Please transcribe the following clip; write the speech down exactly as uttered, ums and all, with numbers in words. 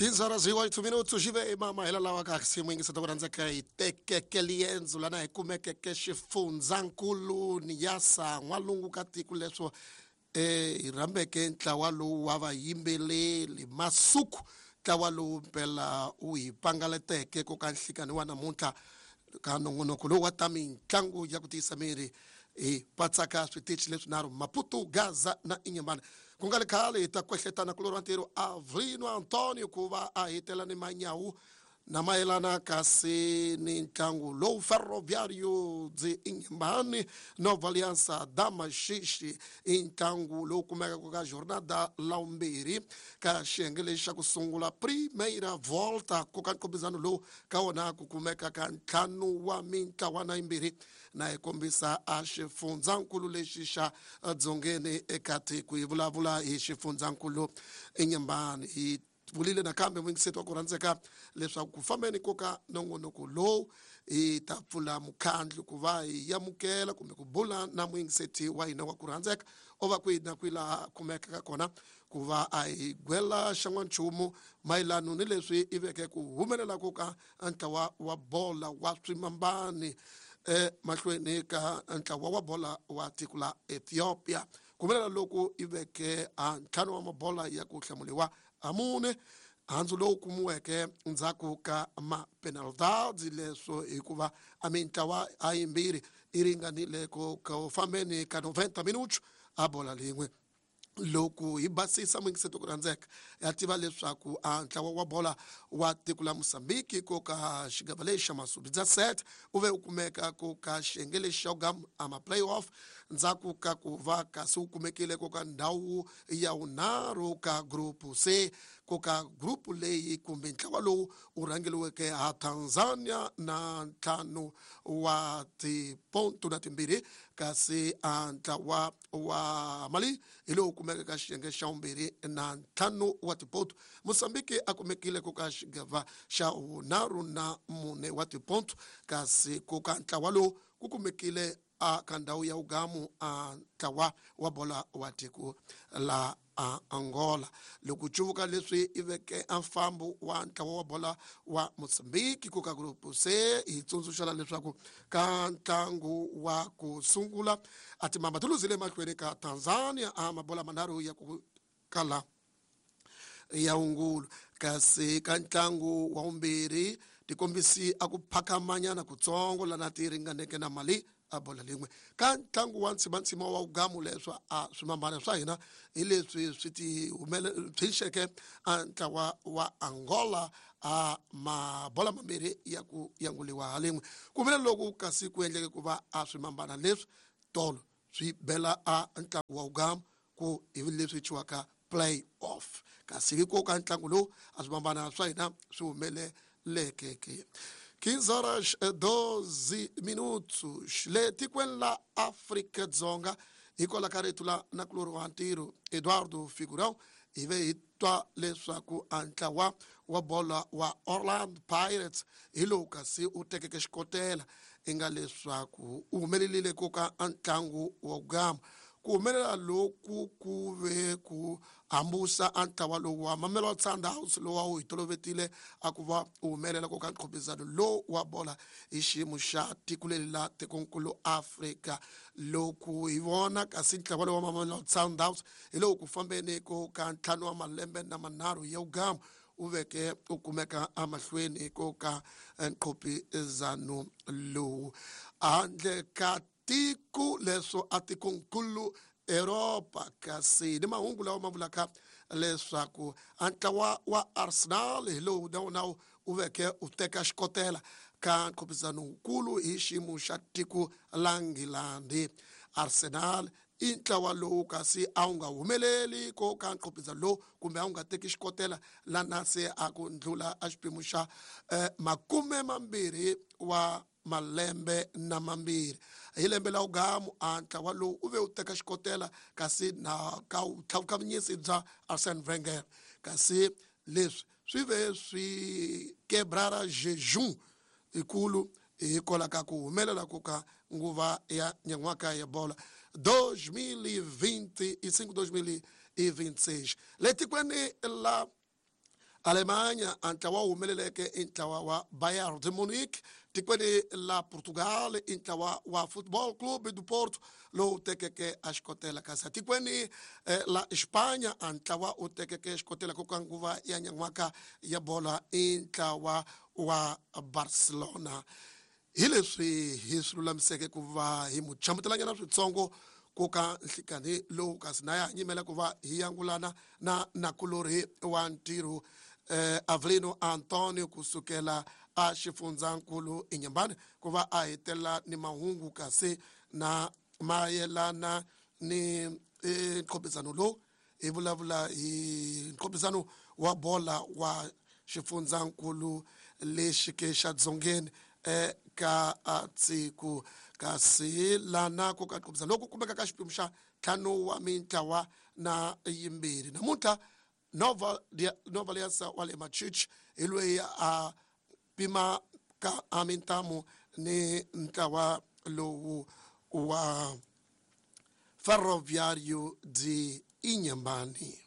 quinze horas e oito minutos jive mama hela lawa ka xiyimo yingisa ta ku rhandzeka hi tekeke liendzo lana hi kumekeke xifundzankulu Niassa n'walungu ka tiko leswo eh hi rhambeke ntlawa lowu wa vayimbeleri Masuku ntlawa lowu mpela u hi pangaleteke ko ka nhlikani wa namuntlha ka nongonoko lowu wa ta mitlangu ya ku tiyisa miri hi patsaka switichi leswinharhu Maputo, Gaza na Inhambane. Ku nga ri khale hi ta kwehletana kulorhi wa ntirho Avrino Antonio ku va a hetela ni manyawu na mayelana kasi ni ntlangu lowu Ferroviário de Inhambane Nova Aliança da Maxixe i ntlangu lowu kumekaka ka jornada la vumbirhi ka xiyenge lexi xa ku sungula primeira volta ku ka nkombisano lowu ka wona ku kumeka ka ntlhanu wa mintlawana yimbirhi na hi kombisa a xifundzankulu lexi xa dzongeni eka tiko hi vulavula hi xifundzankulu Inhambane. Hi vulile nakambe muyingiseti wa ku rhandzeka leswaku ku fambeni ko ka nongonoko lowu hi ta pfula mukhandlu ku va hi amukela kumbe ku bula na muyingiseti wa hina wa ku rhandzeka o va kwihi na kwihi laha kumekaka kona ku va a hi gwela xan'wanchumu mayelano ni leswi i veke ku humelela ko ka ntlawa wa bola wa swimambani emahlweni ka ntlawa wa bola wa tiko la Ethiopia. Ku humelela loku i veke a ntlhanu wa mabola ya ku hlamuliwa amune handzu lowu kumiweke ndzhaku ka mapenaltadi leswo hikuva a mintlawa a yimbirhi i ringanile ku ku fambeni ka noventa minutos a bola lin'we. Loko hi basisa muyingiseti ku rhandzeka ya tiva leswaku a ntlawa wa bola wa tiko la Mozambique ko ka xigava lexi xa Masubidza set u ve u kumeka ko ka xiyenge lexi xa gam a ma playoff ndzhaku ka ku va kasi u kumekile ko ka ndhawu ya vunharhu ka group C ko ka group leyi kumbe ntlawa lowu u rhangeliweke ha Tanzania na ntlhanu wa tiponto na timbirhi kasi a ntlawa wa Mali hi lowu kumeka ka xiyenge xa vumbirhi na ntlhanu wa tiponto. Mozambique a kumekile ku ka xigava xa vunharhu na mune wa tiponto kasi ku ka ntlawa lowu ku kumekile a ka ndhawu ya ugamu a ntlawa wa bola wa tiko la a Angola. Loko cuvuka leswi i veke a mfambo wa ntlawa wa bola wa Mozambique ku ka group C hi tsundzuxela leswaku ka ntlangu wa ku sungula a timamba ti luzile emahlweni ka Tanzania a mabola manharhu ya ku kala ya wungulu kasi ka ntlangu wa vumbirhi tikombisi a ku phakamanyana kutsongo lana ti ringaneke na Mali a bola lin'we. Ka ntlangu wa ntsimantsima wa ugamu leswa a swimambana swa hina hi leswi swi ti humele tshunxeke a ntlawa wa Angola a mabola mambirhi ya ku yanguliwa ha lin'we. Ku humelela loku kasi ku endleke ku va a swimambana leswi tolo swi bela a ntlangu wa ugamu ku hi leswi thyiwaka play off kasi hi ko ka ntlangu lowu a swimambana swa hina swi humeleleke ke. quinze horas doze minutos le tikweni la Afrika Dzonga hikwalaho ka rito la nakulorhi wa ntirho Eduardo Figurão hi ve hi twa leswaku a ntlawa wa bola wa Orlando Pirates hi lowu kasi u tekeke xikotela i nga leswaku u humelerile ko ka ntlangu wa gama. Ku humelela loku ku ve ku hambusa a ntlawa lowu wa Mamelodi Sundowns lowu a wu hi tolovetile a ku va u humelela ko ka nqhopizano lowu wa bola hi xiyimo xa tiko leri la tikonkulu Afrika. Loko hi vona kasi ntlawa lowu wa Mamelodi Sundowns hi lowu ku fambeni ko ka ntlhanu wa malembe na manharhu ya ugamu u veke u kumeka emahlweni ko ka nqhopizano lowu handle ka tiko leswo a tikonkulu Europa. Kasi ni mahungu lawa ma vulaka leswaku a ntlawa wa Arsenal hi lowu na wona u veke u teka xikotela ka nqhopizano wukulu hi xiyimo xa tiko la Nghilandhi. Arsenal i ntlawa lowu kasi a wu nga humeleli ko ka nqhopizano lowu kumbe a wu nga teki xikotela lana se a ku ndlula a xiphemu xa eh, makume mambirhi wa malembe na mambirhi. Hi lembe la ugamu a ntlawa lowu u ve u teka xikotela kasi na ka vutlhavukavunyisi bya Arsene Wenger kasi leswi swi ve swi quebrara jejum ikulu hikwalaho ka ku humelela ku ka nguva ya nyan'waka ya bola dois mil e vinte e cinco, dois mil e vinte e seis. Le tikweni la Alemanha a ntlawa wu humeleleke i ntlawa wa Bayern de Munich. Tikweni la Portugal i ntlawa wa Football Club do Porto lowu tekeke a xikotela, kasi tikweni eh, la Espanya a ntlawa u tekeke xikotela ku ka nguva ya nyan'waka ya bola i ntlawa wa Barcelona. Hi leswi hi swi lulamiseke ku va hi mu chamutelanyana switsongo ku ka nhlikani lowu, kasi na ya nyimela ku va hi yangulana na nakulorhi wa ntirho eh, Avelino Antonio kusukela a xifundzankulu Inhambane ku va a hetelela ni mahungu kasi na mayelana ni eh, nkhopizano lowu hi vulavula hi nkhopizano wa bola wa xifundzankulu lexi ke xa dzongeni eka tsiku, kasi lana ku ka nkhopizano loku kumeka ka xiphemu xa ntlhanu wa mintlawa na yimbirhi. Namuntlha Nova Nova Liasa wa le Machichi hi loyi a pima ka a mintamu ni ntlawa lowu wa Ferroviário de Inhambane.